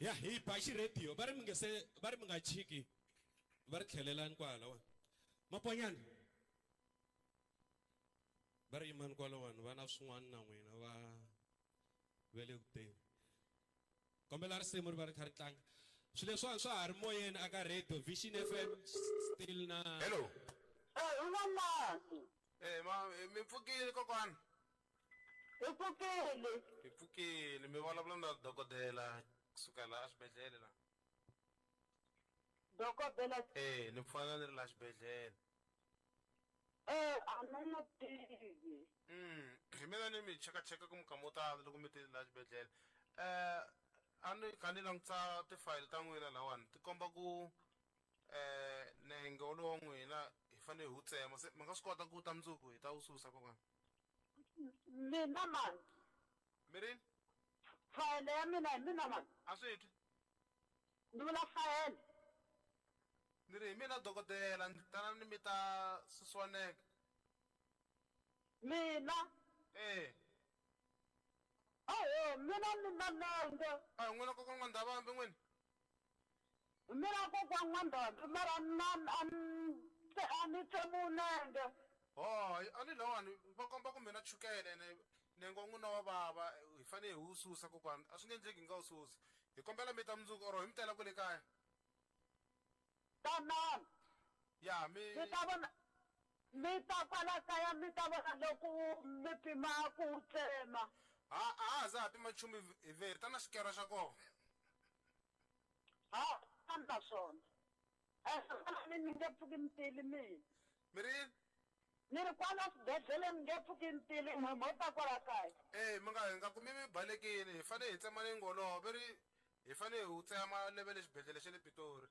Ya hi ba xirediyo va ri mi nge se va ri mi nga chiki va ri tlhelelani kwala wa maponyana va ri yimani kwalawani va na swin'wana na n'wina va ve le ku teni kombela risimu ri va ri kha ri tlanga swilo leswiwani swa ha ri moyeni aka radio Vision FM still na Hello. Eh, u nga mani. Eh, ma mi pfukile kokwana. Hi pfukile. Hi pfukile mi vulavula na dokodela kusuka laha xibedhlele la. Dokodela. Eh, ni pfana ni ri laha xibedhlele. Eh, a ni n'wi tivi. Hi mina ni mi chekacheka ku mukama wo tala loko mi tile laha xibedhlele. Eh, a ni kha ni langutisa tifayili ta n'wina lahawani ti komba ku eh nenge wolowo wa n'wina hi fanele hi wu tsema se mi nga swi kota ku ta mundzuku hi ta wu susa kokwana. Mina mani. Mi rini? Fayele ya mina hi mina mani. A swi twi. Ni vula fayele. Ni ri hi mina dokodela ni tana ni mi ta susiwa nenge. Mina? Eh. Oho, mina ni na nenge. A hi n'wina kokwana N'wandavambi n'wina? Mina kokwana N'wandavambi mara na a ni a ni tsemiwi nenge. Ho, a ni lawani va komba ku mina chukele ene nenge wa n'wina wa vava hi fanele hi wu susa kokwana a swi nge endleki hi nga wu susi. Hi kombela mi ta mundzuku or hi mi tela kwale kaya. Tanani. Ya mi. Mi ta vona mi ta kwala kaya mi ta vona loko mi pima ku wu tsema. Ha a ha za ha pima nchumu hi veri ta na xikero xa kona. Ha a ni na swona. Kwala ni nge pfuki ni tile mina. Mi ri yini? Ni ri kwala xibedhlele ni nge pfuki ni tile n'we mo ta kwala kaya. E mi nga hi nga kumi mi balekile hi fanele hi tsema nenge wolowo ve ri hi fanele hi wu tsema leve le xibedhlele xa le Pitori.